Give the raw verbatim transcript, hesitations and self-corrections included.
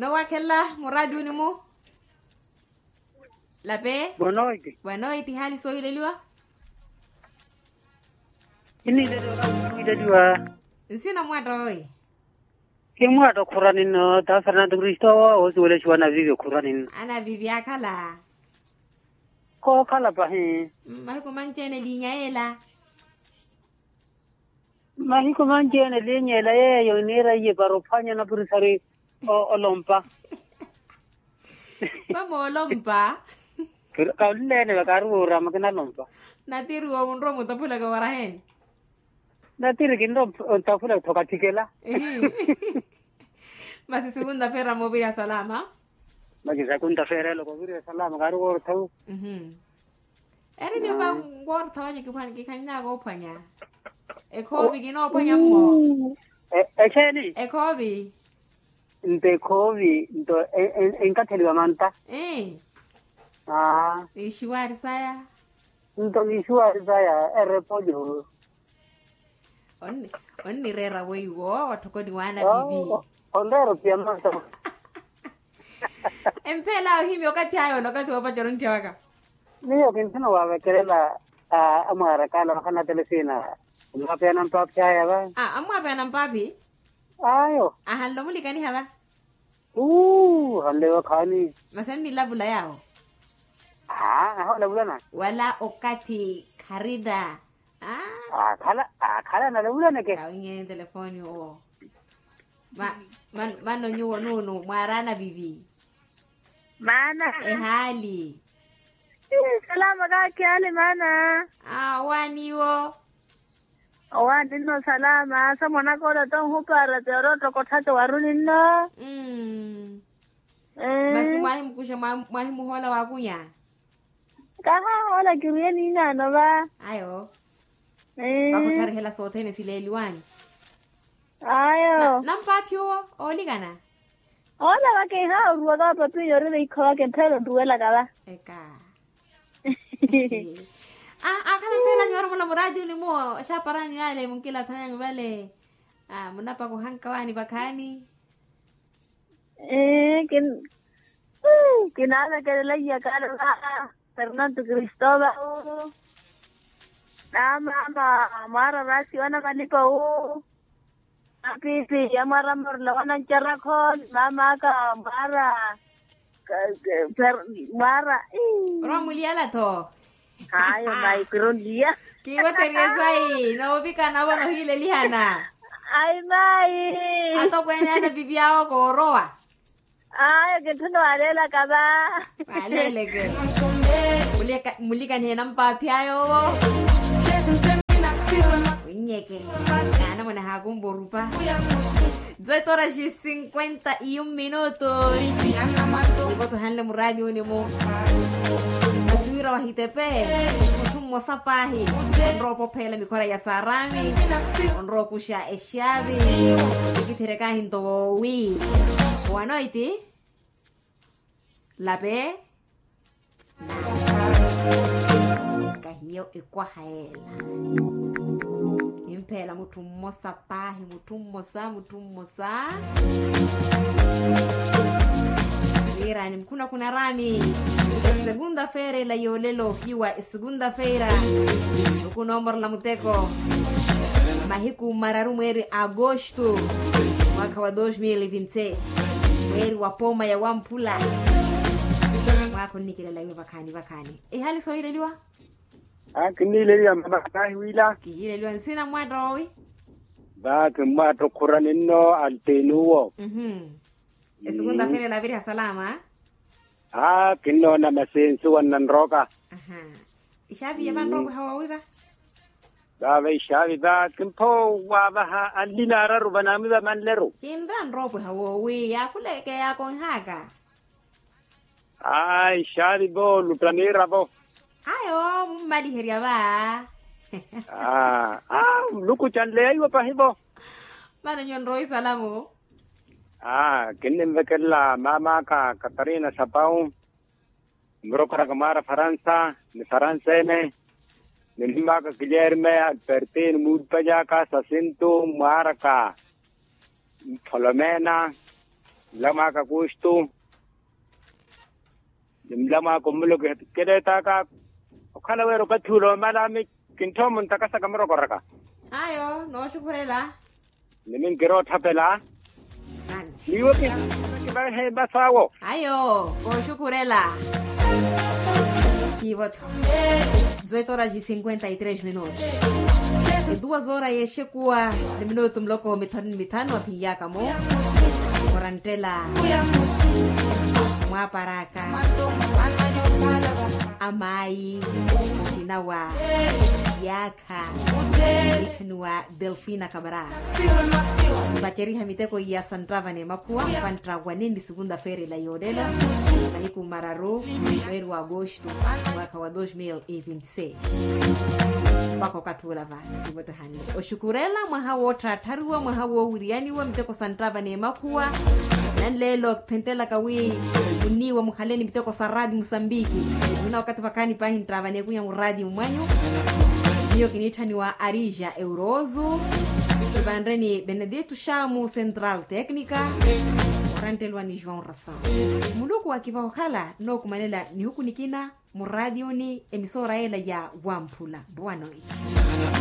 Towakhelela muraadiwini-mu. Lape. Boa noite. Boa noite hali soohileliwa. Kiniileliwa kakuhileliwa. Nsina mwatta owi. Kimwatta okhurani nno ta fernando kristowa woosiwelexiwa anavivi okhurani nno. Anavivi akhala. Kookhala pahi. Mahiku manci-ene liinya yeela. Mahiku manci-ene liinya yeela yeeyo iniira iye para ophwanya napurisari. Olompa. Pamoolompa. Kaluleene vakaari woorama kinalompa. Natiri wo munrowa mutaphulaka waraheeni. Natiri kinrowa mutaphulaka tho kathikela. Masi sikunta feera mooviriha salama. Masi sikunta feera eloko oviriha salama kaari woorotha. Eri nipa nkoorotha wanyu kiphwani kikhaninaka ophwanya. Ekhoovi kinoophwanya mmo. Exeeni? Ekhoovi. Nto ekhoovi nto enkatheliwa manta. Ii. Aa. Ixiwari saya. Nto ixiwari saya erepolyo. Onnireera weiwo watthokoni waana vivi. Onreera opiya manta. Empeela ohimya okathi ayo na okathi woopacerya ontthiya waka. Miyo kinthuna waavekelela amwaaraka ala vakhanatela esiina. Amwaapiyana mpaaphi aya va. Amwaapiyana mpaaphi. Ayo. Ahanle omulikaniha va. Uu ahanle vakhaani. Masi annilavula yaawo. Aa aholavulana. Wala okathi kharina. Akhala akhala analavulana ke. Kawinyeni telefoni owo. Mano nyuwo nuunu mwaaraana vivi. Maana. Ehaali. Salama kaakhi haali maana. Owaaniwo. Owaani nno salama samwanaka ole tonhupaara ti oroottokottha ti waruni nno. Masi mwahimukuxa mwahimuhoola waakunya. Kahaahoola kirwiye niinaano va. Ayo. Vakhuttharihela sothene sileeliwani. Ayo. Nampaaphi owo oolikana. Oola waka ihaha oruwaka vapapinyo orina ikho waka emphela onruwelaka va. Eka. Akhala mphela nyuwo orumula muraatiwini muwo oxaaparanyu yale munkilathananyu vale. Munapaka ohanka waani vakhaani. Ee kinaavekelela iyakala va fernando kristovalu. Na mama mwaara vasiwana malipa wu. Apipi yamwaara mmarula wanancarakho ni mama aka mwaara. Mwaara. Orwa muliyala tho. Ayo mayi kironliya. Kiiweteriye sayi noovika navo nohiilelihana. Ayi mayi. Atokweene ana pipi awo koorowa. Ayo kintthuna waleelaka va. Waleeleke. Mulikanihe nampaaphi ayo owo. Winnyeke. Naana mwana haakumpa orupa. Dezoito horas e cinquenta e um minutos. Nikoto hanle muraatiwini mu. Asuwira wahitepe. Mutthu mmosa paahi onrowa opopheela mikhora ya saarami. Onrowa okuxa exaavi. Nikitherya kaahinto woowi. Wanoiti. Lape. Kahiyo ekwaha yeela. Kimpheela mutthu mmosa paahi mutthu mmosa mutthu mmosa. Wiirani mukhunakhuna raami. Esegunda feira ela yoolelo ohiwa esegunda feira. Mukunoomorela muteko. Mahiku mararu mweeri agosto, mwaakha wa dos mil e vinte e seis. Mweeri wa pooma ya wamphula. Mwaakha onnikilela iwe vakhaani vakhaani. Ehali soohileliwa. Kinniileliwa mama kaahiwila. Kihiileliwa nsina mwaatta owi. Vaaki mmwaatta okhurani nno altenuwo. Esukunta feira elaviriha salama. Aa kinnoona masensu wannanroka. Ixaavi ya vanroopweha woowi va. Vaava ixaavi va kimpho waavaha anlina araru vanaamwi vamanleru. Kinra nroopweha woowi yaakhuleke yaakonhaka. Aa ixaavi vo lutta miiravo. Ayo mummaliherya va. Aa nlukucanleya iwe pahi vo. Mano nyuwo nrowa isalamu. Aa kinninvekelela maamaaka katarina sapau. Murokora kamwaara faransa ni faransa ene. Ni mmaaka kilierme albertine muulupanyaka sasintu mwaaraka. Mpholomena. Mlamwaka kustu. Ni mlamwaka omulo keleetaka. Okhala wira opathulo omala ami kinthomo ntakasaka murokoraka. Ayo nooxukhurela. Ni minkira otthapela. Niwo kivahe masawo. Ayo kooxukhurela. Siivo-tho. Duas horas e cinquenta e três minutos. Duas horas yeexekuwa ni minutu muloko mithanu ni mithanu aphinyaka-mo. Oranttela mwaaparaka. Amayi. Okinawa. Yaakha. Wiithaniwa delfina kamara. Vaceriha miteko iya santtava n'emakhuwa. Vantta waneni segunda feira ila yoolelo. Mahiku mararu. Mweri wa agosto. Mwaka wa dos mil e vinte seis. Mpakha okathi ula va. Oxukurela mwaha wootthaatthariwa mwaha woowiriyaniwa miteko santtava n'emakhuwa. Nanleelo kiphentelaka wi muniiwa mukhaleni miteko sa radio musambiki. Muna wakathi vakhaani paahi nttava n'ekunya mu radio mwanyu. Miyo kiniitthaniwa arija euroso. Kivanreni benedito xamu central técnica. Oranttelwa ni joão ração. Muluku wakivaha okhala nookumanela nihuku nikina. Muraadioni emisora ela ya wamphula boa noite.